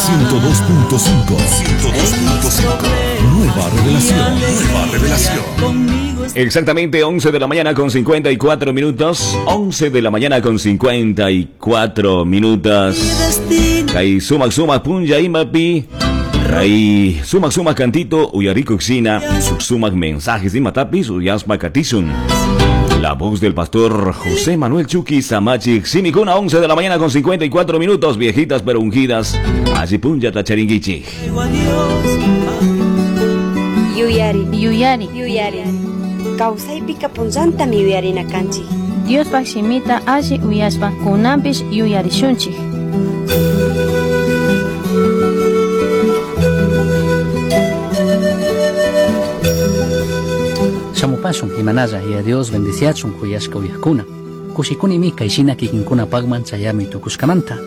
102.5. 102.5. Nueva revelación. Nueva revelación. Exactamente 11 de la mañana con 54 minutos. 11 de la mañana con 54 minutos. Kay sumak sumak punlla imapi. Ray sumak sumak cantito uyariko xina. Sumak mensajes imatapis uyaspa katisun. La voz del pastor José Manuel Chuqui Samachi Simicuna, 11 de la mañana con 54 minutos, viejitas pero ungidas. Allí punlla tacharinguichi. Yuyari. Yuyari. Yuyari. Kawsaypika punllantami yuyarina kanchik. Diospaj shimita alli uyashpa kunanpish yuyarishunchik. Shamupashun imanalla y a Dios bendiciachun kuyashka uyajkuna. Kushikunimi kayshina kikinkunapaqman chayami tukushkamanta.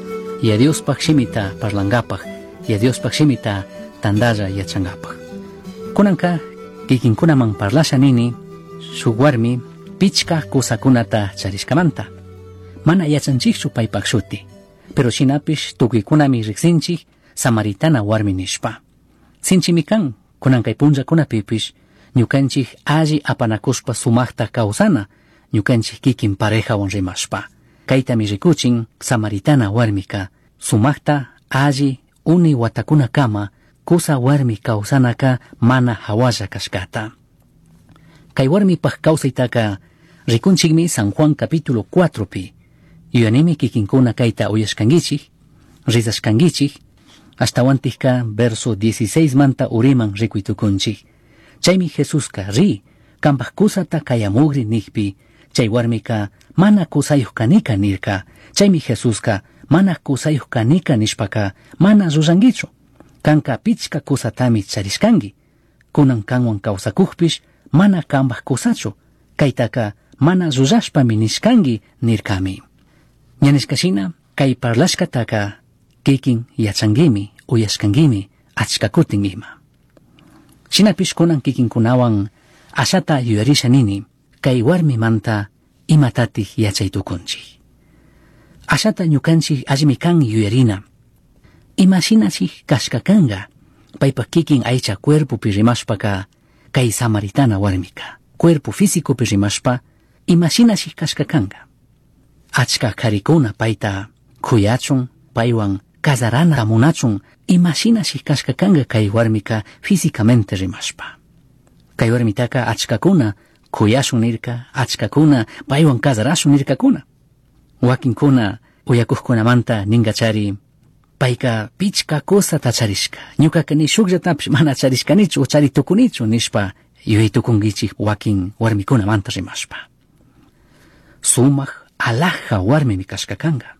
Y a Diospaj shimita parlangapaj y a Diospaj shimita tandalla yachangapaj. Kunanka kikinkunaman parlasha nini shuk warmi pichka kusakunata charishkamanta. Mana yachanchikchu paypaq shuti, pero shinapish tukuykunami riqsinchik samaritana warmi nishpa. Sinchimi kan kunan kay punllakunapipish ñukanchik alli apanakushpa sumaqta kawsana ñukanchik kikin parejawan rimashpa. Kaytami rikuchin samaritana warmika sumaqta alli uni watakunakama kusa warmi kawsanaka mana hawalla kashkata. Kay warmipaq kawsaytaka rikunchikmi San Juan capítulo 4 pi. Yuyanimi kikinkuna kayta uyashkankichik, rizashkankichik, ashtawantikka verso 16 manta uriman rikuytukunchik. Chaymi Jesuska ri, kampaj kusata kayamugri nikpi, chay warmika mana kusayuq kanika nirka. Chaymi Jesuska mana kusayuq kanika nishpaka mana rurrankichu. Kanka pichka kusatami charishkanki. Kunan kanwan kawsakujpish mana kampaj kusachu. Kaytaka mana rurashpami nishkanki nirkami. Ña nishkashina kay parlashkataka kikin yachankimi, uyashkankimi, achka kutin ima. Shinapish kunan kikinkunawan ashata yuyarisha nini, kay warmimanta imatatik yachaytukunchik. Ashata ñukanchik allimi kan yuyarina. Imashinachik kashka kanga, paypa kikin aycha cuerpopi rimashpaka kay samaritana warmika. Cuerpo físicopi rimashpa, imashinachik kashka kanga. Achka karikuna payta kuyachun, paywan casarana munachun, imashinachik kashka kanga kay warmika físicamente rimashpa. Kay warmitaka achkakuna kuyashun nirka, achkakuna paywan casarashun nirkakuna. Wakinkuna uyakuqkunamanta ninkachari, payka pichka kusata charishka, ñukaka ni shukllatapish mana charishkanichu o charitukunichu nishpa yuyaytukunkichik wakin warmikunamanta rimashpa. Sumaq alhaja warmimi kashka kanka.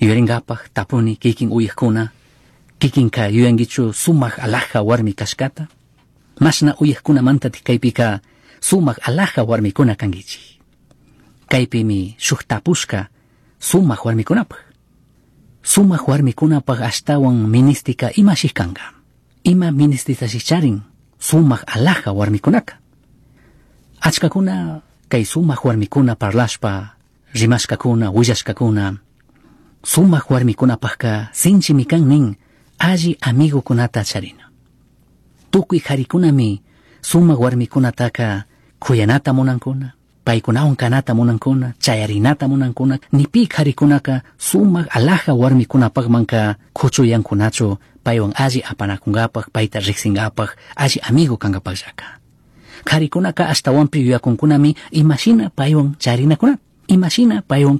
Yuyaringapaj tapuni kikin uyajkuna, kikinka yuyankichu sumaq alhaja warmi kashkata. Mashna uyajkunamantatik kaypika sumaq alhaja warmikuna kankichik. Kaypimi shuk tapushka sumaq warmikunapaj. Sumaq warmikunapaj ashtawan ministika imashik kanka. Ima ministitashik charin sumaq alhaja warmikunaka. Achkakuna kay sumaq warmikuna parlashpa rimashkakuna, willashkakuna, sumaq warmikunapajka sinchimi kan nin alli amigukunata charina. Tukuy qharikunami sumaq warmikunataka kuyanata munankuna, paykunawan kanata munankuna, chayarinata munankuna, ni pi qharikunaka sumaq alhaja warmikunapaqmanka kuchuyankunachu paywan alli apanakunkapaq, payta riqsinkapaq, alli amigo kankapaqllaka. Qharikunaka ashtawanpi yuyakunkunami imashina paywan charinakunata, imashina paywan